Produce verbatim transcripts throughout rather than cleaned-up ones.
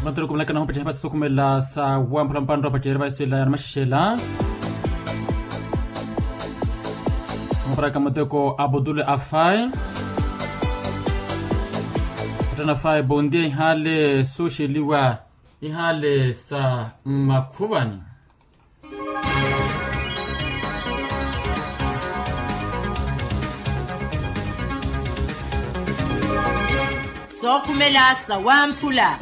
Pantelo kumelaka nahupacerya hapasi sokumela sa wamphula mpantta wapacerya vaiswela ya namaxexela. Muparaka muteko abudule afai. Kutana afai bondia ihale suxeliwa ihale sa makhuvani. Sookhumela sawamphula.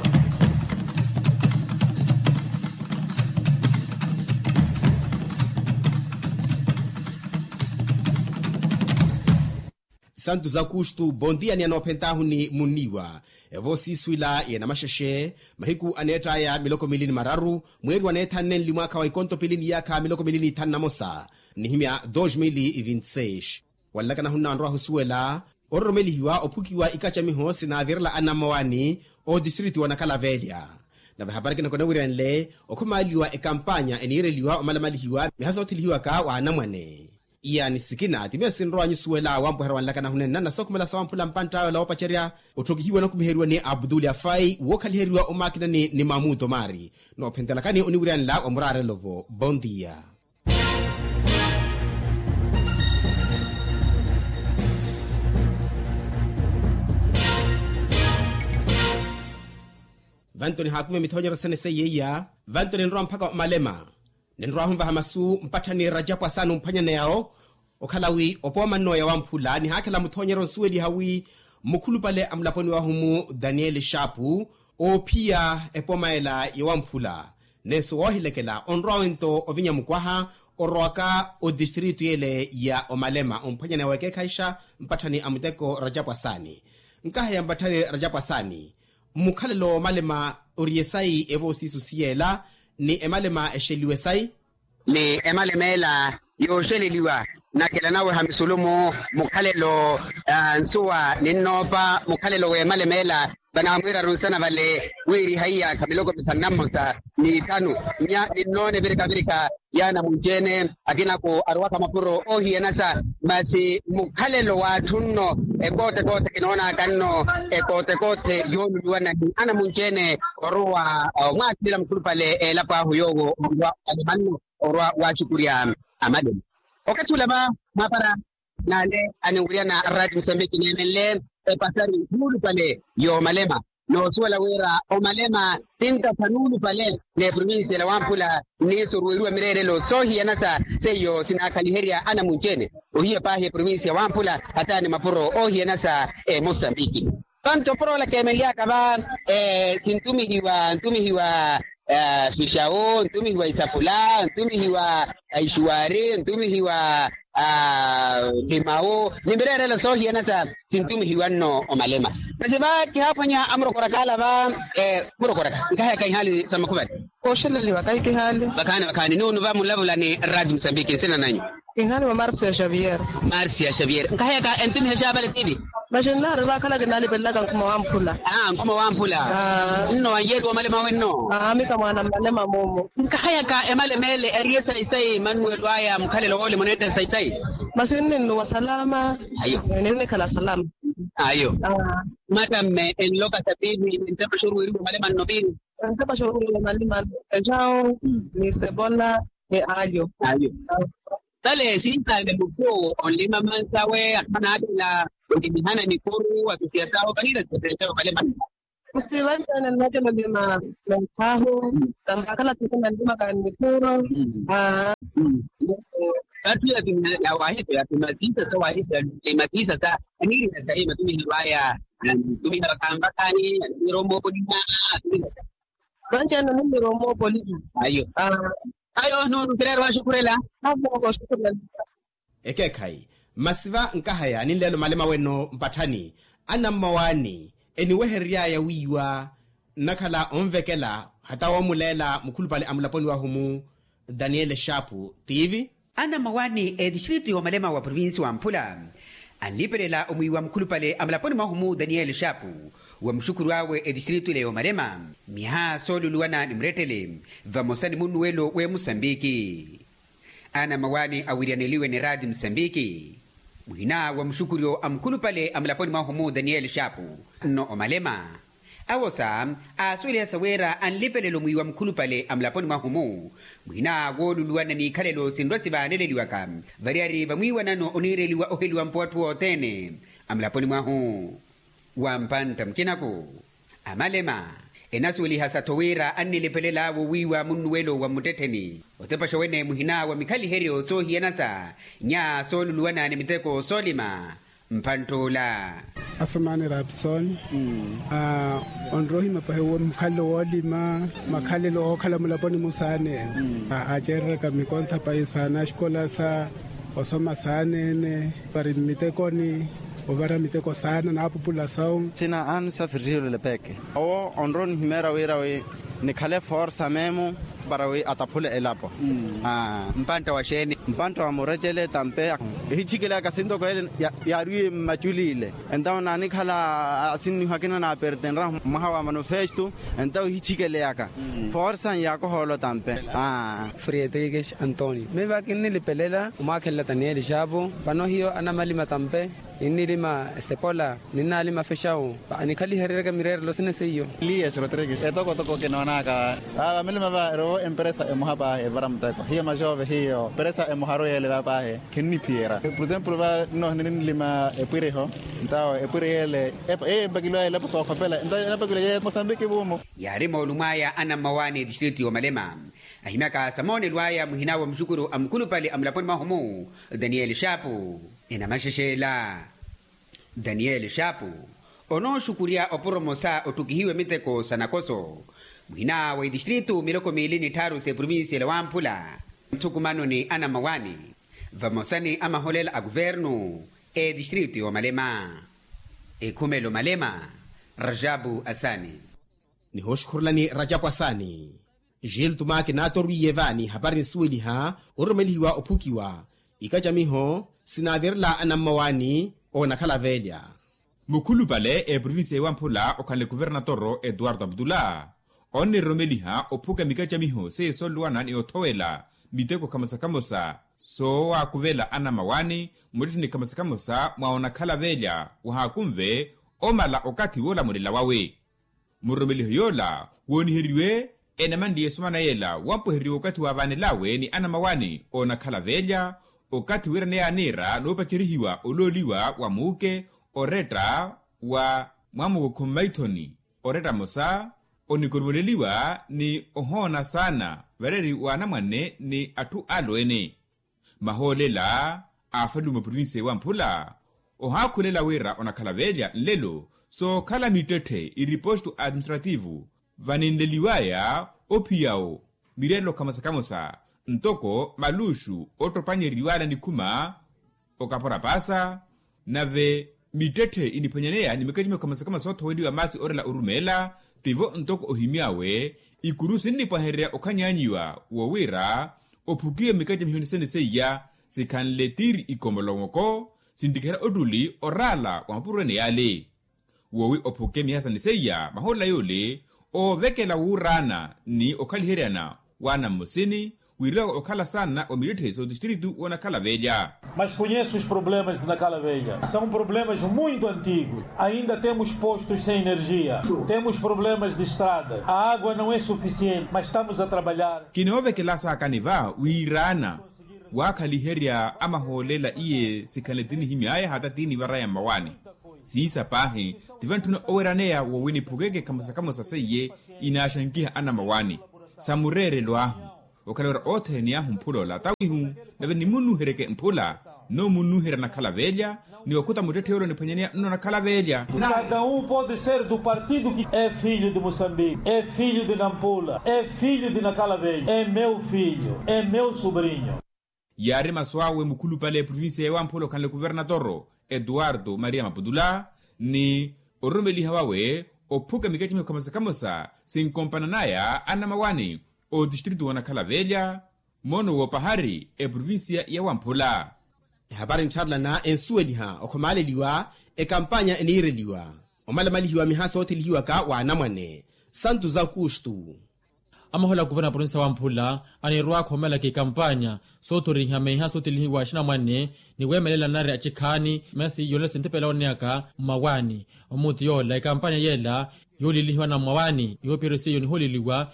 Santu zakustu bondia ni anoophentaahu ni munniiwa. Evo siiswila ya namaxexe mahiku aneett'aya miloko miili ni mararu, mweeri waneethanne nli mwaakha wa ikonto piili ni iyaakha miloko miili ni ithanu na mosa, nnihimya dos mil e vinti seis. Wanlakana hunna wanrowa ahusuwela ororomelihiwa ophukiwa ikacamiho sinaavirela anammawaani otistriti wa nakalaveelya. Nave hapari kinoko enawiryanle okhumaaliwa ekampaanya eniireliwa omalamalihiwa miha soothelihiwaka wa anamwane. Iya ni sikina ti miya sinrowa nyusuwela wampwehera wanlakana hunenna na sookhumela sawamphula mpantt'awe la wopacerya. Otthokihiwa nakhumiheryiwa ni abduli afai wookhaliheriwa omakinani ni mamuto maari. Noophentelakani oniwiryanela wa muraarelo-vo bondia. Vanto nihaakumiha mithoonyeryo sene seiya iya. Vanto ninrowa mpakha omalema. Ninrowa ahunvaha masu mpatthani rajapu asaani omphwanyaneya-wo. Okhala wi opooma nno ya wamphula nihaakhela muthoonyeryo nsuweliha wi mukhulupale a mulaponi wahu-mu daniele xaapu oophiya epooma ela ya wamphula. Nenso woohilekela onrowa wento ovinya mukwaha orowaka otistrito yele ya omalema omphwanyaneya wekeekhayixa mpatthani a muteko rajapu asaani. Nkaha ya mpatthani rajapu asaani, mukhalelo woomalema ori esayi evo siiso siyela ni emalema exeliwe sayi. Ni emalema ela yooxeleliwa nakhela naweha misulumu mukhalelo nsuwa ninnoopa mukhalelo w'emalema ela. Vanaamwiiraru nsana vale wiiriha iyaakha miloko mithanu na mmosa n'ithanu. Nya ninnoone virika-virika y'anamunci-ene akinako arowaka mapuro oohiyanasa. Masi mukhalelo w'atthu nno ekoote-koote kinoonaka nno ekoote-koote yooluliwa nahi anamunci-ene orowa omwaakilila mukhulupale elapo ahu yoowo orwa alema nno orwa waaxukurya amalelo. Okathi ula va mapara n'ale aniwirya na rati musambiki neemenle epasari nuulupale y'omalema. Noosuwela wira omalema tintatha nuulupale n'eprovincia la wamphula nniiso oruweriwa mireerelo soohiyanasa seiyo sinaakhaliherya anamunci-ene ohiya paahi eprovincia wamphula hata ni mapuro oohiyanasa emosambiki. Panto puro ola keemenlyaka va sintumihiwa ntumihiwa fixawo ntumihiwa isapula ntumihiwa ixuwari ntumihiwa limawo ni mireerelo soohiyanasa. Sintumihiwa nno omalema masi va kihaaphwanya amurokoraka ala va murokoraka nkahayaka ihaali sa makhuvani. Kooxeleliwa kahi kihaali. Vakhaani vakhaani nuunu va munlavula ni rati musambiki nsina nanyu. Kinhaani wa marcia xavier. Marcia xavier nkahayaka entumiha xaavale tiivi. Maxinlaari vaakhala kinaalipelelaka nkhuma wamphula. Aa nkhuma wamphula. Nno wanyeeriwa omalema wenno. Aamika mwaana mmalema muumu. Nkahayaka emalema ele eri esayi sayi mannuwelo aya mukhalelo woole muneetta esayi sayi. Masi nninnuwa salama. Ayo. Ninnikhala salama. Ayo. Matamme enloka sa piipi nintepa xooruweriwa omalema nno piipi. Entepa xooruweriwa omalema nno ecawo ni sepola ni alyo. Ayo. Vale sintaale muthu onlima mansawe akhanaathela olimihana nikuru atusiya sawo vanira sipeexa omalema. Masi vanci-ene nnathela olima meekhahu. Tampakhala thikhu nanlimaka nnikuru. Aa. Vatthu yatumiha yawahisa yatuma siisa sa wahisa lima siisa sa aniirina sahi matumiheryo aya. Atumiha vakhaani atumiheryo omoopolina. Atumiha sa vanci-ene aniirina omoopolina. Ayo. Ayo nuunu kireera owaaxukhurela. Avo kooxukhurela. Ekeekhayi masi va nkahaya ninleela omalema weno mpatthani anammawaani eniwehereryaya wiiwa nnakhala onvekela hata woomuleela mukhulupale a mulaponi wahu-mu daniele xaapu tiivi. Anammawaani etistritu y'omalema wa provinsi wa mphula anlipelela omwiiwa mukhulupale a mulaponi mwahu-mu daniele xaapu wa muxukhuru awe etistritu ile y'omalema miha sooluluwana ni murettele vamosa ni munnuwelo w'emusambiki. Anammawaani awiryaneliwe ni raati musambiki muhina wa muxukhuryo a mukhulupale a mulaponi mwahu-mu daniele xaapu nno omalema Awosa aasuwelihasa wira anlipelelo mwiiwa mukhulupale a mulaponi mwahu-mu, muhina wooluluwana n'ikhalelo sinrwa sivaaneleliwaka. Variyari vamwiiwanano oniireliwa oheliwa mpo atthu othene a mulaponi mwahu. Wa mpantta mukinaku, amalema enasuwelihasa-tho wira annilipelel'awe owiiwa munnuwelo wa mmuttettheni otepaxa wene muhina wa mikhaliheryo soohiyanasa nya sooluluwana ni miteko soolima. Mpantt'ula. Asumani rapson, onrohima pahi mukhalelo woolima, makhalelo ookhala mulaponi musaanene. Acereraka mikontha pahi saana axikolasa, osoma saanene, vari mmitekoni, ovara miteko saana naapupula sawu. Sina anu sa firihiyolole peke. Owo onrowa onihimeera wira wi nikhale forsa memu para wi ataphule elapo. Mpantta wa xeeni? Mpantta wa murecele tampe. Ehichikele aka sintoko ele yaariwe mmaculi ile. Entawo naanikhala asinniho akina naapertenra mwaha wa manufesto. Entawo ehichikele aka forsa nyaakohoolo tampe. Fredrikes antonio miva kinnilipelela omwaakhelela tanieli xaapu. Vano hiyo anamalima tampe. Ninnilima esepola ninnalima fexawu. Anikhalihereryaka mireerelo sina seiyo. Elias rodrigues etokotoko kinoonaka. Vamilima va erowo emperesa emoha paahi evara muteko hiyo maxove hiyo peresa emoharu yeele va paahi. Khinniphiyerya por exemplo va nnohini ninnilima epwiriho. Ntawo epwiri yeele eyo empakiwaya elapo sookhopela ntawo enapakiwaya yeyo mosambiki vuumu. Yaari moolumo aya anammawaani etistritu y'omalema ahimyaka sa moonelo aya muhina wa muxukuru a mukhulupale a mulaponi mwahu-mu, daniel xaapu. Enamaxexela daniel xaapu onooxukurya opuro mosa otthukihiwe miteko sa nakoso muhina wa itistritu miloko miili ni tthaaru s'eprovincia ela wamphula. Nthukumano ni anammawaani vamosa ni amaholela a kuvernu etistritu y'omalema. Ekhumelo malema rajabu asaani. Nihooxukhurelani rajapu asaani. Gil tumaki naatorwiye vaani hapari nisuweliha ororomelihiwa ophukiwa ikacamiho sinaavirela anammawaani oonakhala veelya. Mukhulupale eprovincia ewamphula okhanle kuvernatoro etuwarto aputula onniroromeliha ophuka mikacamiho seiye sooluwana ni othowela miteko khamosa khamosa soowakuvela anammawaani muttetthe ni khamosa khamosa mwa onakhala veelya wahaakunve omala okathi woolamulela wawe. Muroromeliho yoola wooniheriwe enamanliye esomana yeela wampweheriwa okathi waavaanel'awe ni anammawaani oonakhala veelya okathi wira neyaaniira noopacerihiwa olooliwa wa muuke oretta wa mwamuko khummaithoni oretta mosa onikoromeleliwa ni ohoona saana vareeri wa anamwane ni atthu alweene. Mahoolela aafalume oprovinsiya ewamphula ohaakhulela wira onakhala veelya nlelo sookhala mittetthe iriposto administrativu vaninleliwaya ophiyawo mireerelo khamosa khamosa ntoko maluxu ottopanyeriwala nikhuma okapora paasa. Nave mittetthe iniphanyaneya ni mikacimiho khamosa khamosa soothoweliwa maasi orela orumeela tivo ntoko ohimy'awe ikuru sinnipwahererya okhanyaanyiwa woowira ophukiwe mikacamiho ni sene seiya sikhanle tiiri ikomolomoko sinttikhela ottuli oraala wa mapuro ene yaale. Woowi ophuke miyaha sani seiya mahoolela yoole oovekela wuuraana ni okhaliheryana waana mmosini wiiriwaka okhala saana omittetthe sootistiritu woonakhala veelya. Mas conheço os problemas de nakala velha são problemas muito antigos. Ainda temos postos sem energia, temos problemas de estradas, a água não é suficiente mas estamos a trabalhar. Kinoovekela saakani va wiiraana waakhaliherya amahoolela iye sikhanle tinihimy'aya hata tinivar'aya mmawaani. Siisa paahi tivantthuna oweraneya woowi niphukeke khamosa khamosa seiye inaaxankiha anammawaani sa mureerelo ahu. Okhala wira othene ni ahu mphula ola tawihu nave nimunnuhereke mphula nno munnuherya nakhala veelya ni okhuta muttetthe yoole oniphwanyaneya nno nakhala veelya. Cada um pode ser do partido que é filho de moçambique é filho de nampula é filho de nakala velha é meu filho é meu sobrinho. Yaari masu awe mukhulupale eprovinsiya ewamphula okhanle kuvernatoro etuwarto maria maputula ni ororomeliha wawe ophuka mikacamiho khamosa khamosa sinkompananaya anamawani otistritu woonakhala veelya moono woopahari eprovinsiya yawamphula. Ehapari nttharelana ensuweliha okhomaaleliwa ekampanya eniireliwa omalamalihiwa miha soothelihiwaka w'anamwane santu z'akustu. Amahola a kuvena provinsiya wamphula anirwa akhomelaka ekampanya soothorihiwa meiha soothelihiwa axinamwane ni weemelela nari axikhaani masi yoolela sintepela ooneyaka mmawaani omuti yoola ekampanya yeela Yoolilihiwa na mmawaani yoopiheryo seiyo nihooleliwa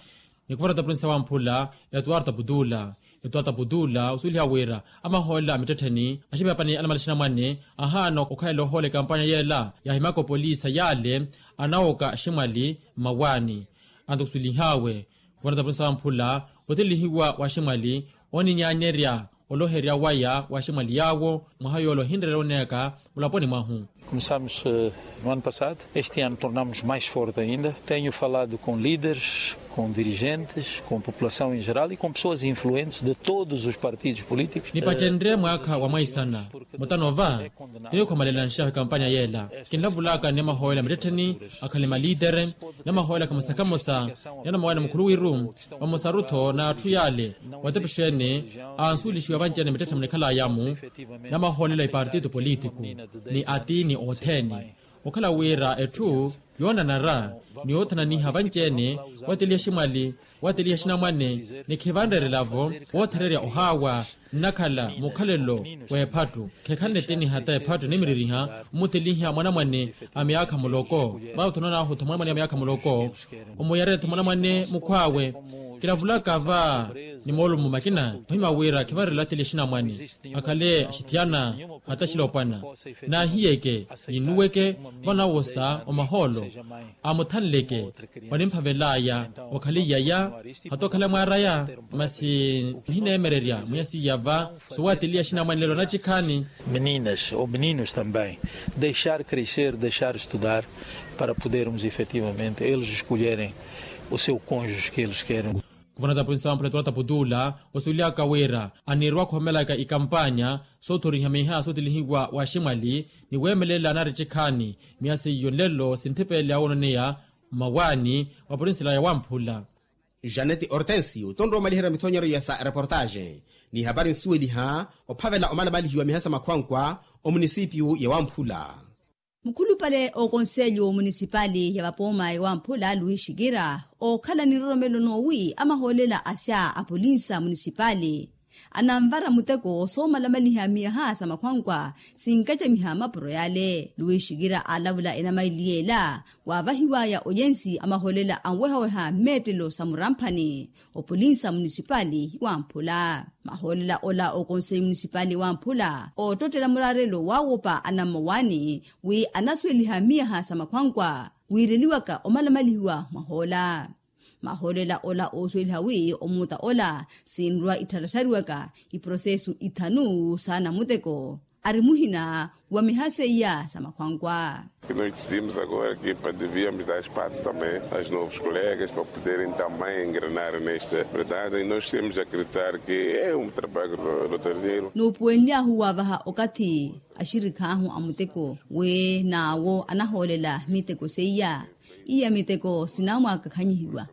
ni kuvarata purinsa wamphula. Etuwarta putula etuwarta putula osuweliha wira amahoolela a mittettheni axipapani anamala axinamwane ahaana okhalela ohoola ekampanya yeela yaahimaka opolisa yaale anawoka aximwali mmawaani. Anto kusuwelihaawe kuvarata purinsa wamphula otelihiwa wa aximwali oninyaanyerya oloherya waya wa aximwali yaawo mwaha yoole ohinrerya oneeka mulaponi mwahu. Começamos no ano passado, este ano tornamos mais forte ainda. Tenho falado com líderes, com dirigentes, com população em geral e com pessoas influentes de todos os partidos políticos. Nipacenrye mwaakha wa mwaisana mutano va tinikhomalela nxahu ekampanya yeela. Kinlavulaka ni amahoolela mittettheni akhale maliitere ni amahoolela kamosa kamosa ni anamawaani mukhuluwiru vamosaru-tho n'atthu yaale watepexeene ansuwelixiwa vanci-ene mittettheni munikhalaya-mu. Namahoolela ipartito politiku ni atiini othene okhala wira etthu yoonanara ni yoothananiha vanci-ene wateliha aximwali wateliha axinamwane ni khivanreerela-vo woothererya ohaawa nnakhala mukhalelo w'ephattu. Khekhanle tiniha ta ephattu nimiririha mmuteliha mwanamwane a myaakha muloko vaawo thanonaahu tha mwanamwane a myaakha muloko omuyarerya tha mwanamwane mukhw'awe. Kilavulaka va ni moolumo makina ohima wira khivanreerela ateliha axinamwane akhale axithiyana hata axilopwana naahiyeke ninnuweke vanawosa omahoolo amuthanleke onimphavel'aya okhale iyaya hata okhale mwaar'aya. Masi nihineemererya mwiya siiya va sowateliya axinamwane lelo anacikhaani. Meninas ou meninos também deixar crescer deixar estudar para podermos efetivamente eles escolherem o seu cônjuge que eles querem. Kuvonata prinsa wamphula etuwarta putula osuwelihaka wira anirwa khoomelaka ikampanya soothoriha miha sootelihiwa wa aximwali ni weemelela anari cikhaani. Miya seiyo nlelo sinthipeele awoononeya mmawaani wa prinsilaya wamphula. Janeti hortensio tonrowa omaliherya mithonyeryo ya sa reportaxe n'ihapari nsuweliha ophavela omalamalihiwa miha sa makhwankwa omunisipiyu ya wamphula. Mukhulupale ookonselyo munisipali ya vapooma ewamphula luwi xikira ookhala ni nroromelo noowi amahoolela asya apolinsa munisipali ananvara muteko soomalamaliha miyaha sa makhwankwa sinkacamiha mapuro yale luwi xikira aalavula enamaili yeela waavahiwaya oyensi amahoolela anwehaweha mmeettelo sa muramphani. Opolinsa munisipali wamphula mahoolela ola okonseyi munisipali wamphula oottottela muraarelo waawopa anammowaani wi anasuweliha miyaha sa makhwankwa wiireliwaka omalamalihiwa mwahoola. Mahoolela ola oosuweliha wi omuutta ola sinrwa ittarattariwaka iprosesu ithanu sa namutteko ari muhina wa miha seiya sa makhwankwa. Noti simos agora ki pa deviamos dar espaço também aos novos colegas pa poderem também engrenar nesta verdade e noti simos acreditar ki é um trabalho rotoneiro. Nuupuwenly'ahu waavaha okathi axirikh'ahu a muteko wi n'awo anahoolela miteko seiya iya miteko sinamwakakhanyihiwa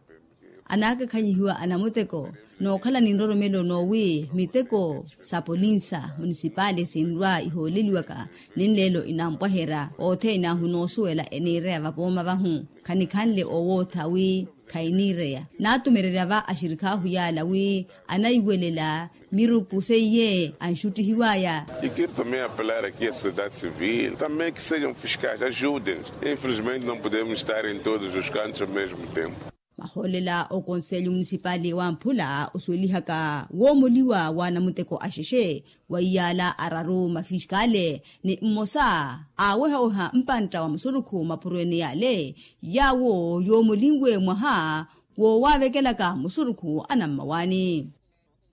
anaakakhanyihiwa anamuteko nookhala ni nroromelo noowi miteko sa polinsa munisipali sinrwa ihooleliwaka ni nleelo inampwaherya othene ahu noosuwela eniireya vapooma vahu khanikhanle owootha wi khayiniireya naatumererya va axirikhahu yaala wi anaiwelela miruku seiye anxuttihiwaya. Ikirto meya pelara ki a sociedade civil também ki sejam fiscais ajudem infelizmente não podemos estar em todos os cantos ao mesmo tempo. Mahoolela okonselyo munisipali wamphula osuwelihaka woomoliwa wa namuteko axexe wa iyaala araru mafiskale ni mmosa aawehaweha mpantta wa musurukhu mapurweene yaale yaawo yoomolinwe mwaha woowaavekelaka musurukhu anammawaani.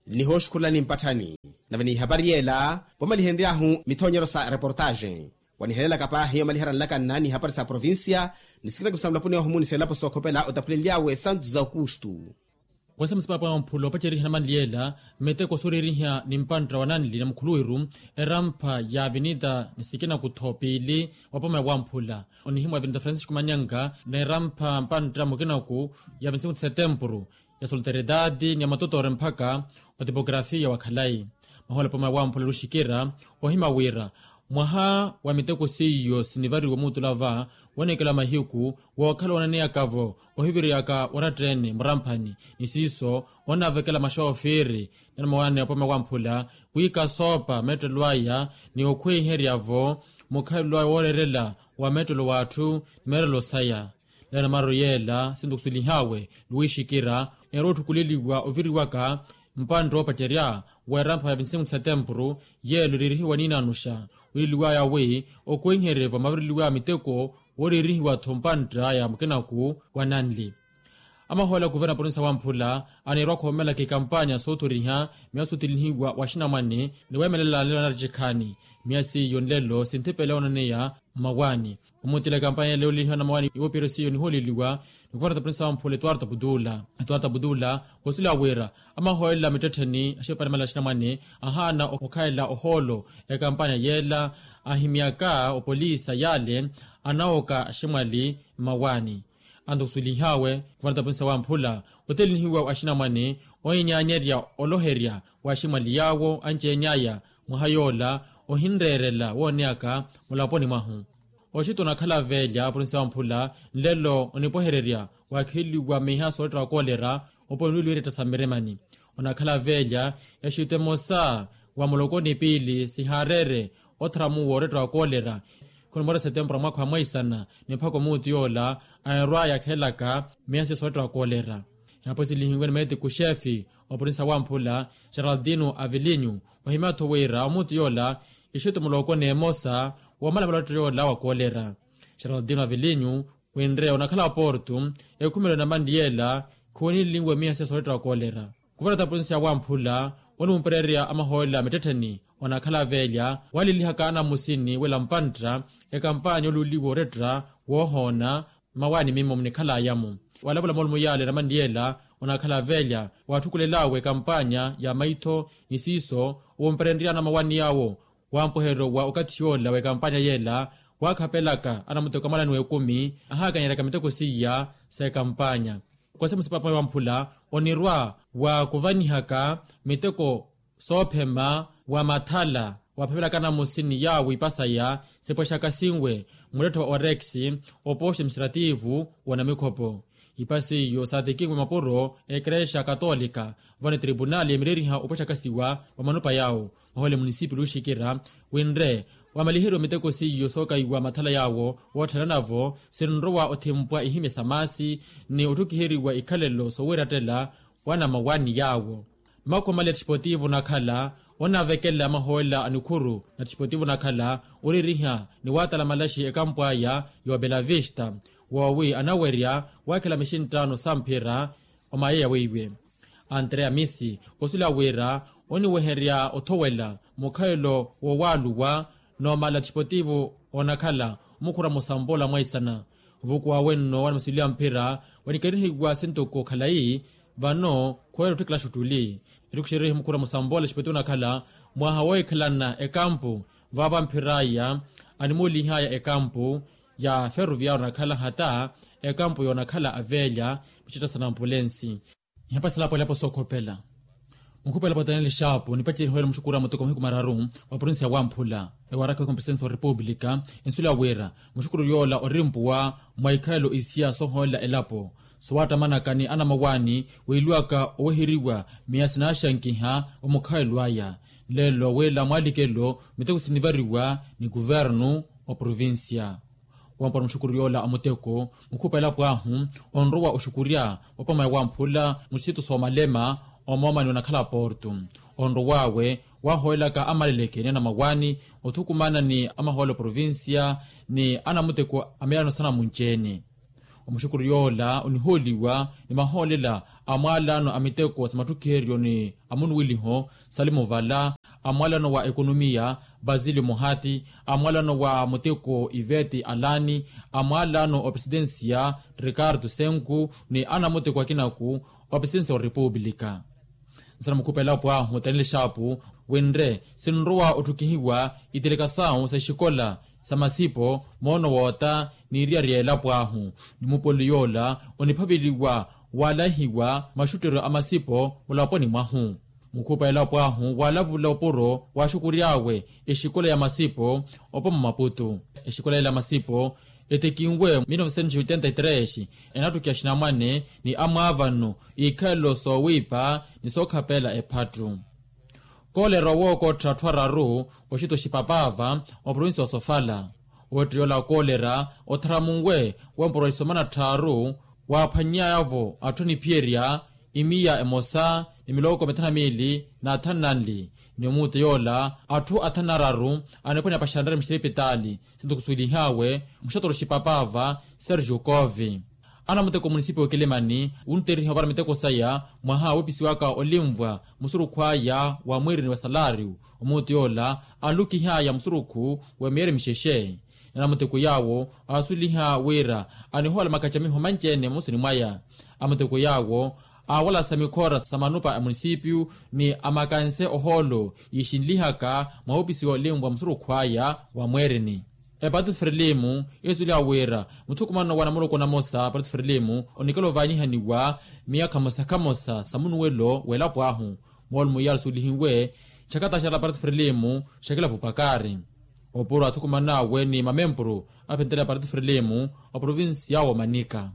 Nihooxukhulani mpatthani nave n'ihapari yeela voomalihenry'ahu mithoonyeryo sa reportaxe wanihelelaka paahi omaliherya nlakanna n'ihapari sa provincia ni sikina kusamulapuni ohumu ni selapo sookhopela otapulenly'awe santu za okustu. Konse musipapo ya mphula opaceriha namanliyela miteko sooririha ni mpantta wa nanli na mukhuluwiru erampha ya avenida ni sikina kutho piili wa poma ya wamphula onihimwa avenida francisco manyanga na erampha mpantta mukinaku ya vinti cinco de setembro ya solteridade ni ya matotore mpakha otipografia wa khalayi. Mahola poma wamphula luxikira ohima wira mwaha wa miteko seiyo sinivariwa muutula va woonekela mahiku wookhala woonaneyaka-vo ohiviriyaka oratta-ene muramphani ni siiso oonavekela maxoofiri ni anamawaani apoma wamphula wi kasoopa meettelo aya ni okhweiherya-vo mukhalelo aya wooreerela wa meettelo w'atthu ni meerelo saya. Leyo namaru yeela sintukusulihawe luwixikira, erootthukuleliwa oviriwaka mpantta oopacerya w'erampha ya vinti sinku ti setempuru, yeelo eririhiwa niinanuxa. Wileliwaya wi okweiherye vamavireliwaya miteko wooririhiwa-tho mpantta ya mukinaku wa nanli. Amahoola a kuverna provinsi ya wamphula aneerwa khoomelaka ekampanya soothoriha miya sootelihiwa wa axinamwane ni weemelela nlelo naari cikhani. Miya seiyo nlelo sinthipele oonaneya mmawaani. Omutila ekampanya yale yoolelihiwa na mawaani iwopiro seiyo nihooleliwa ni kuverna provinsi ya wamphula etuwarta putula. Etuwarta putula osuleya wira amahoolela mittettheni axipanimanela axinamwane ahaana okhalela ohoolo ekampanya yeela. Ahimyaka opolisa yale anawoka aximwali mmawaani. Antukusulihawe kuvanata provinsi ya wamphula otelinihiwa wa axinamwane oinyaanyerya oloherya wa aximwali yaawo anceny'aya mwaha yoola ohinreerela wooneyaka mulaponi mwahu. Oxita onakhala velya provinsi ya wamphula nlelo onipwehererya waakheliwa miha sooletta wa koolera oponi lwiiretta sa mmiremani. Onakhala velya exita emosa wa muloko ni piili sihaareere otharamuwa oretta wa koolera. Khunimora setempura mwaakha wa mwaisana ni mphaka omuuti yoola aneerwa yakhelaka miya siya sooletta wa koolera. Ehapo silihiwe ni meetiku xeefi wa provinsi ya wamphula geraldino avilinyu wahimya-tho wira omuuti yoola exita muloko n'emosa woomalamala oretta yoola wa koolera. Geraldino avilinyu winre onakhala porto ekhumelo na manli yeela khuwenilinwe miya siya sooletta wa koolera. Kuvarata provinsi ya wamphula oniwumpererya amahoolela mittettheni onakhala velya waalelihaka anamusini wela mpantta ekampanya oluuliwa oretta woohoona mmawaani mimmo munikhalaya-mo. Walavula moolumo yaale na manli yeela onakhala velya waatthukulel'awe ekampanya ya maitho ni siiso owumperenry'ana mmawaani yaawo. Wampweheryo wa okathi yoola w'ekampanya yeela waakhapelaka anamuteko amwalani w'ekumi ahaakanyeraka miteko seiya s'ekampanya. Kose musipapa wamphula onirwa wa kuvanihaka miteko soophema wa mathala waaphepelaka anamusini yaawo ipasaya sipwexaka sinwe mulettho wa orex opooxo administrativu w'onamikhopo. Ipasi iyo saatekinwe mapuro ekerexa katolika vano etripunali emireriha opwexakasiwa wa manupa yaawo. Mahoole munisipi luxikira winre wamaliheriwa miteko seiyo sookaiwa mathala yaawo wootthana navo sinrowa othimpwa ihimye sa maasi ni otthukiheriwa ikhalelo soowiirattela wa namawaani yaawo. Makomali a txipotivo nakhala onavekela amahoolela a nikhuru na txipotivo nakhala oririha ni waatala malaxi ekampwaya y'obelavista woowi anawerya waakhela mixinttaano samphira omayeya weiwe. Antreya misi osuleya wira oniweherya othowela mukhayelo wowaaluwa noomala txipotivo onakhala omukhura musambola mwaisana. Ovuku wawe nno wanimusuliya mphira wanikerihiwa sintoko khalayi vano khuwela otthikila xuttuli. Ettuku xerihi mukhura musambola txipotivo onakhala mwaha wohikhalana ekampu vaavo amphir'aya animuulih'aya ekampu ya ferroviario onakhala hata ekampu yoonakhala avelya mixitta sa nampulensi. Ihapasela apo elapo sookhopela mukhupela potani lixaapu nipacerihoyela muxukuru a muteko mahiku mararu wa provinsi ya wamphula ewaraka wekumi presidenti wa repupulika. Ensuleya wira muxukuru yoola orimpuwa mwa ikhayelo isiya sooholela elapo sowaattamanaka ni anamawaani wiiluwaka oweheriwa miya sinaaxankiha omukhayelo aya. Nlelo wila mwaalikelo miteko sinivariwa ni kuvernu oprovinsiya. Wampora muxukuru yoola a muteko mukhupa elapo ahu onrowa oxukurya opama ya wamphula muxisitu soomalema omoomani onakhala porto. Onrow'awe waahooyelaka amaleleke ni anamawaani othukumana ni amahoolo a provinsiya ni anamuteko a miyalano sanamunci-ene. Omuxukuru yoola onihooliwa ni mahoolela a mwaalano a miteko sa matthukheryo ni a munuwiliho salimu vala, a mwaalano wa ekonomiya basilio muhati, a mwaalano wa muteko iveti alani, a mwaalano wa presidensiya ricardo senku ni anamuteko akinaku wa presidensiya wa repupulika. Nsana mukhupa elapo ahu taneli xaapu winre sinrowa otthukihiwa itelekasawu sa exikola sa masipo moono woota n'iriyari ya elapo ahu ni mupoli yoola oniphaveliwa waalahiwa maxutteryo a masipo mulaponi mwahu. Mukhupa elapo ahu waalavula opuro waaxukury'awe exikola ya masipo opoma maputu. Exikola yela ya masipo etekinwe mil novecentos e oitenta e tres enattuki axinamwane ni amwaavano iikhalelo soowiipa ni sookhapela ephattu. Koolera owookottha atthu araru oxita oxipapaava oprovinsi osofala Woottey'ola koolerya otharamunwe wempuro ya isoma na tthaaru waaphwanny'aya-vo atthu aniphiyerya imiya emosa ni miloko mithanu na miili na athanu na nli. Ni omuuteya ola atthu athanu na araru aniphwanya paxanrari muxiripitaali. Sinto khusuwelih'awe muxatoro xipapava sergio cove. Anamuteko munisipi wa kilimani wunterihiwa para miteko saya mwaha woopisiwaka olinvwa musurukhu aya wa mwiirini wa salaariyu. Omuuti yoola anlukih'aya musurukhu wa miyeeri mixexe. Ni anamuteko yaawo aasuweliha wira anihoola makacamiho manci-ene mmoosani mwaya. Amuteko yaawo aawalasa mikhoora sa manupa a munisipiyu ni amakanse ohoolo yiixinlihaka mwa woopisiwa olinvwa musurukhu aya wa mweerini. Epatru frilimu eesuweliha wira muthukumano wa namuloko namosa patru frilimu onikela ovaanihaniwa miyakha mosa khamosa sa munuwelo w'elapo ahu. Moolumo iyaala suwelihiwe xakataxala patru frilimu xakilapo pakari opuro athukuman'awe ni mamempuru aphentela patru frilimu oprovinsi yaawo manika.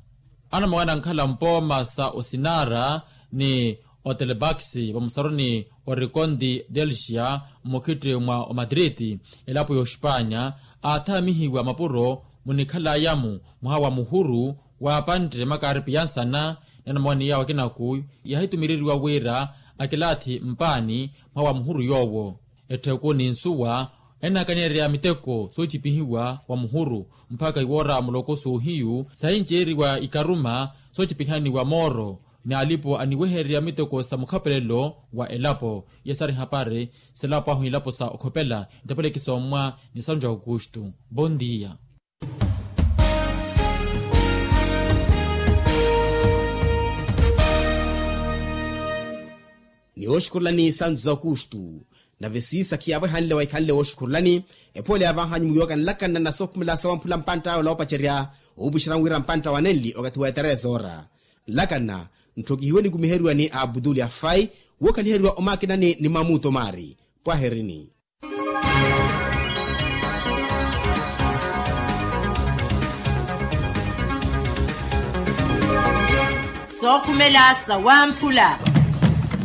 Anamwawana ankhala mpooma sa osinara ni otelebakisi vamusaroni orikondi delsia mmukhitti mwa omatriti elapo ya oxipanya aathaamihiwa mapuro munikhal'aya-mu mwaha wa muhuru waapantte makaripi ya nsana. Ni anamwawana yaawo akinaku yaahitumireriwa wira akilaathi mpaani mwaha wa muhuru yoowo. Ettheku ni nsuwa ennakanyeerya miteko soocipihiwa wa muhuru mpakha iwoora muloko soohiyu sahinceeriwa ikaruma soocipihaniwa mooro. Ni alipo aniwehererya miteko sa mukhapelelo wa elapo iya sari hapari selapo ahu ilapo sa okhopela ntapeleki sommwa ni sanju aukustu. Bondia. Ni wooxukhurulani santu za okustu nave siisa khiyaavo ehanle waikhanle wooxukhurulani. Ephoole yaavahanyu muyoka nlakanna na sookhumela sawamphula mpantta awe oloopacerya oopwixerani wira mpantta wa nenli okathi wa etereza ora nlakanna ntthokihiwe nikumiheriwa ni abutuli afai wookhaliheriwa omakinani ni mamuto maari. Pwaherini. Sookhumela sawamphula.